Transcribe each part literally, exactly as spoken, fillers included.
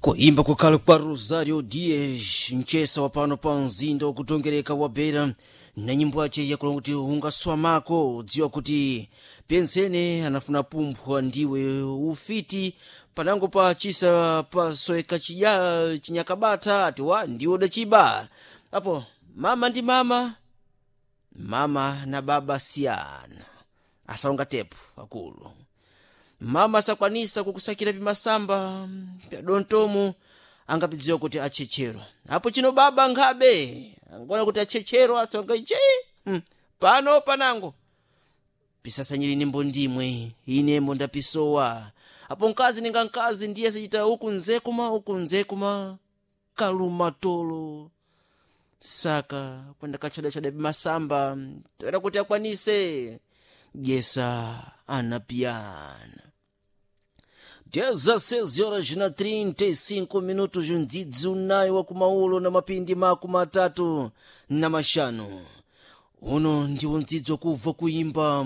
Kuimba kukhala kwa Rosario Dias, mchesa wa pano pa mzinda wakutongereka wa Beira, na nyimbo yace yakulonga kuti ungaswamako dziwa kuti pensene anafuna pumphwa ndiwe ufiti panango pa chisa pasoeka chija chinyakabata ati wa ndiwe udachiba apo. Mama ndi mama, mama na baba siyana, asaonga tepu akulu. Mama sakwanisa kukusakira pimasamba pya dontomu, angapidziwa kuti achechero apo chino. Baba nkhabe angona kuti achechero asonga iche hmm. Pano panango pisasanyiri nimbo ndimwe inembo ndapisowa apo. Mkazi ninga mkazi ndiye sachita uku nzekuma uku nzekuma kalumatolo saka kwenda kachodachoda pimasamba toera kuti akwanise jesa anapiyana. dezesseis horas na trinta e cinco minutos, mdzidzi unayi wa kumaulo na mapindi makumi atatu na mashanu. Uno ndiwo mdzidzi wakubva kuimba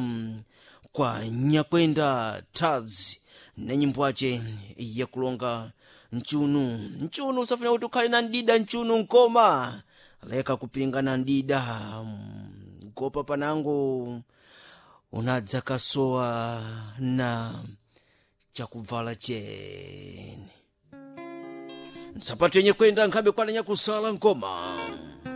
kwa Nyakwenda Taz na nyimbo yace yakulonga mchunu. Mchunu usafuna kuti ukhale na ndida mchunu nkoma leka kupingana ndida gopa panango unadza kasowa na chakuvala cheni nsapato yenye kwenda nkhabe kwana nyakusala nkoma.